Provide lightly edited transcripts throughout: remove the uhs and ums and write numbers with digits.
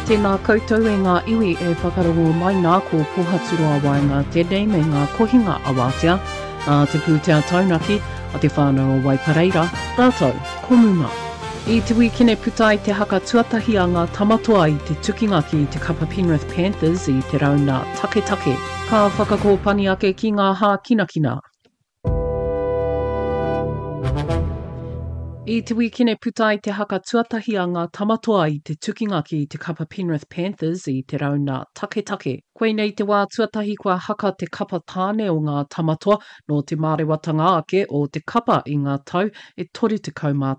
Tēnā koutou e ngā iwi e whakarongo mai nā ko Pohaturoa Waenga tēnei me ngā kohinga awatea a te pūtea taunaki a te whānau o Waipareira rātou ko Muma. I te wīkene puta ai te haka tuatahi a ngā Tamatoa i te tukinga ki te kapa Penrith Panthers i te rauna taketake. Ka whakakōpani ake ki ngā hākinakina. I te wīkene puta ai te haka tuatahi a ngā Tamatoa i te tukinga ki te kapa Penrith Panthers i te rauna taketake. Koinei te wā tuatahi kua haka te kapa tāne o ngā Tamatoa nō te mārewatanga ake o te kapa i ngā tau e 31.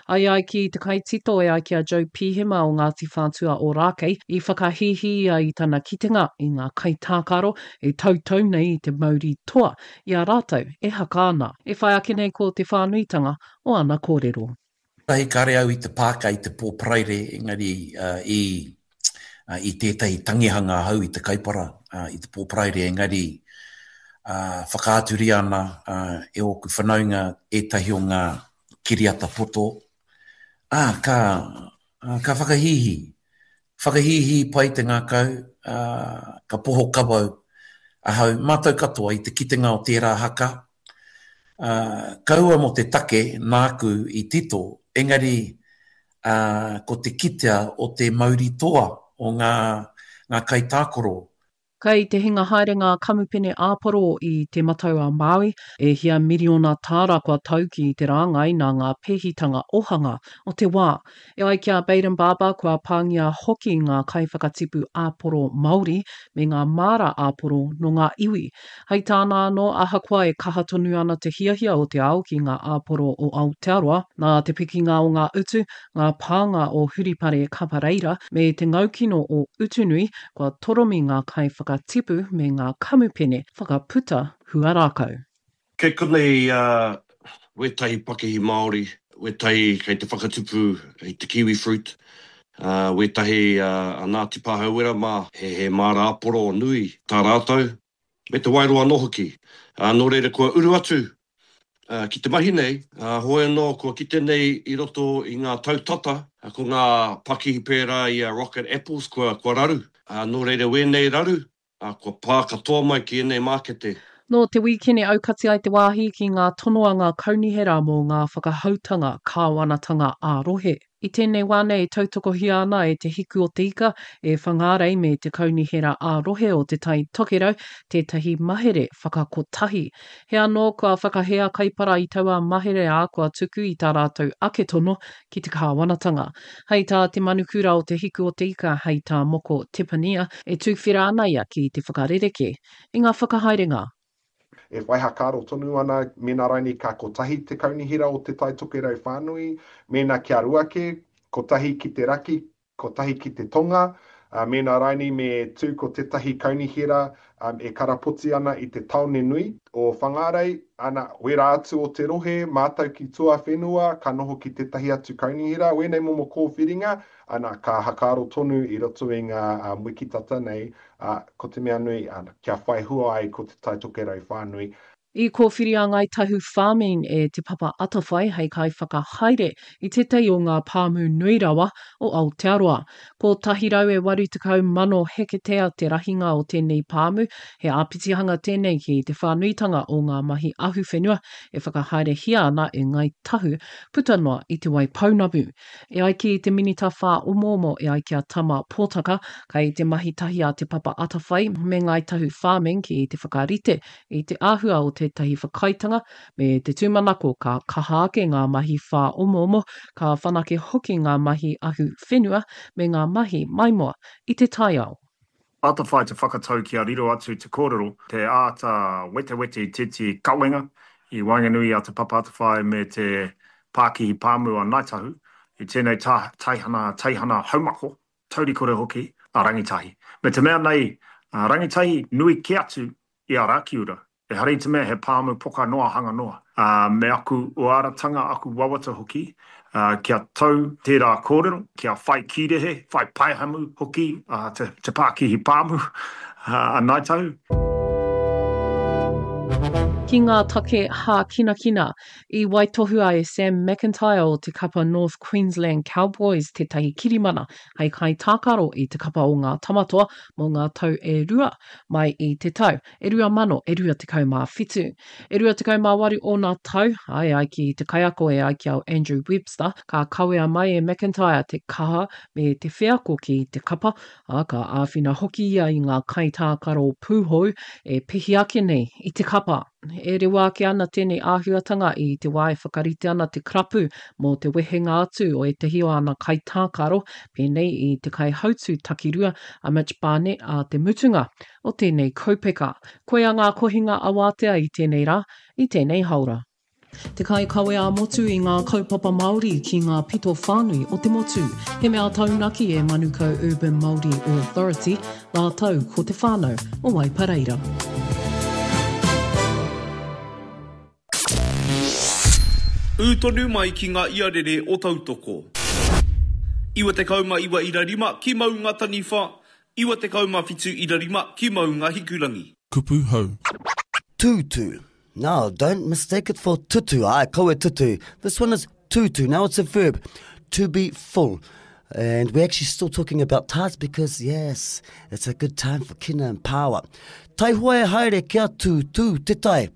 Ai ai ki te kaitito e ai ki a Joe Pihema o Ngāti Whātua Ōrākei i whakahīhī ia i tana kitenga i ngā kaitākaro e tautau nei i te mauri toa i a rātou e haka ana. E whai ake nei ko te whānuitanga o ana kōrero. Tahi kare au i te pāka i te pō Paraire engari i i tētahi tangihanga ahau i te Kaipara i te pō Paraire engari whakaaturia ana e ōku whanaunga ētahi o ngā kiriata poto, ā, ka, ka whakahīhī. Whakahīhī pai te ngākau, ā, ka poho kawau ahau, mātou katoa i te kitenga o tērā haka, ā, kaua mō te take nāku i tito, engari, ā, ko te kitea o te mauri toa o ngā, ngā kaitākaro Kei te hinga haere ngā kamupene āporo i Te Matau-a-Māui, e hia miriona tāra kua tau ki te rāngai nā ngā pēhitanga ohanga o te wā. E ai ki a Bayden Barber kua pāngia hoki ngā kaiwhakatipu āporo Māori me ngā māra āporo nō ngā iwi. Hei tāna anō, ahakoa e kaha tonu ana te hiahia o te ao ki ngā āporo o Aotearoa, nā te pikinga o ngā utu, ngā pānga o Huripare Kapareira me te ngaukino o Utunui, kua toromi ngā kaiwhakatipu me ngā kamupene whakaputa huarākau. Kei konei wētahi pakihi Māori, wētahi kei te whakatupu i te kiwi fruit, wētahi a Ngāti Pāhauwera mā, he māra āporo nui tā rātou, me te waeroa anō hoki. Nō reira kua uru atu ki te mahi nei, hoi anō kua kite nei i roto i ngā tau tata, ko ngā pakihi pērā i a Rocket Apples kua raru. Nō reira wēnei raru, kua pā katoa mai ki ēnei mākete. Nō te wīkene aukati ai te wāhi ki ngā tono a ngā kaunihera mō ngā whakahoutanga kāwanatanga ā-rohe. I tēnei wā nei e tautokohia ana e Te Hiku o te Ika, e Whangārei me te Kaunihera ā-Rohe o Te Tai Tokerau tētahi mahere whakakotahi. He anō kua whakahē a Kaipara i taua mahere ā, kua tuku i tā rātou ake tono ki te kāwanatanga. Hei tā te manukura o Te Hiku o te Ika, hei tā Moko Tepania, e tuwhera ana ia ki te whakarerekē i ngā whakahaerenga E whai hakaaro tonu ana mēnā rainī ka kotahi te kaunihera o Te Tai Tokerau whānui, mēnā kia rua kē, kotahi ki te raki, kotahi ki te tonga, ā, mēnā rainī me tū ko tētahi kaunihera e karapoti ana i te tāone nui o Whangārei, ana, wērā atu o te rohe, mātau ki tuawhenua, ka noho ki tētahi atu kaunihera, wēnei momo kōwhiringa, ana, ka hakaaro tonu i roto i ngā wiki tata nei, ā, ko te mea nui, ana, kia whai hua ai ko Te Tai Tokerau whānui. I kōwhiria a Ngāi Tahu Farming e Te Papa Atawhai hei kaiwhakahaere i tētahi o ngā pāmu nui rawa o Aotearoa. 180,000 heketea te rahinga o tēnei pāmu, he āpitihanga tēnei ki te whānuitanga o ngā mahi ahuwhenua e whakahaerehia ana e Ngāi Tahu puta noa i Te Waipounamu. E ai ki te Minita Whāomoomo e ai ki a Tama Potaka, kei te mahi tahi a Te Papa Atawhai me Ngāi Tahu Farming ki te whakarite i te āhua o tētahi whakaaetanga me te tūmanako ka kaha ake ngā mahi whāomoomo, ka whanake hoki ngā mahi ahu whenua me ngā mahi maimoa i te taiao. Atawhai te whakatau kia riro atu te kōrero, te āta wetewete i tētehi kawenga i waenganui i a Te Papa Atawhai me te Pākihi Pāmu a Ngāi Tahu i tēnei taihana teihana haumako, taurikore hoki, a Rangitahi. Me te mea nei, a Rangitahi nui kē atu i a Rakiura, Ehara i te mea he pāmu poka noa hanga noa. Ā, me aku uaratanga, aku wawata hoki, ā, kia tau tērā kōrero, kia whai kīrehe, whai paehamu hoki a te, te pākihi pāmu, ā, a Ngāi Tahu. Ki. Ki ngā take hākinakina, i waitohua e Sam McIntyre o te kapa North Queensland Cowboys tētahi kirimana hei kaitākaro i te kapa o ngā Tamatoa mō ngā tau e rua mai i te tau e 2000 e 27. E 28 ōna tau, ā, e ai ki te kaiako e ai ki a Andrew Webster, ka kawea mai e McIntyre te kaha me te wheako ki te kapa, ā, ka āwhina hoki ia i ngā kaitākaro pūhou e pihi ake nei i te kapa. E rewa ake ana tēnei āhuatanga i te wā e whakarite ana te karapu mō te wehenga atu o ētahi o ana kaitākaro, pēnei i te kaihautū takirua a Mitch Barnett ā te mutunga o tēnei kaupeka. Koia ngā kohinga awātea i tēnei rā, i tēnei haora. Te kaikawe ā-motu i ngā kaupapa Māori ki ngā pito whānui o te motu. He mea taunaki e Manukau Urban Māori Authority rātou ko te whānau o Waipareira. Ū tonu mai ki ngā iarere o Tautoko. 99 ira rima ki Maunga Taniwha, 97 ira rima ki Maunga Hikurangi. Kupu hou. Tūtū. Now, don't mistake it for tutu. Ai, kawe tutu. This one is tutu. Now it's a verb. To be full. And we're actually still talking about tides because, yes, it's a good time for kina and power. Taihoa e haere kia tūtū te tai.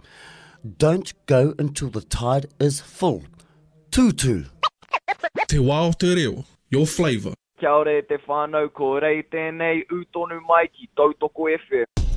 Don't go until the tide is full. Tūtū. Te wā o te reo, your flavour. Kia ora e te whānau, ko Rei tēnei, ū tonu mai ki Tautoko FM.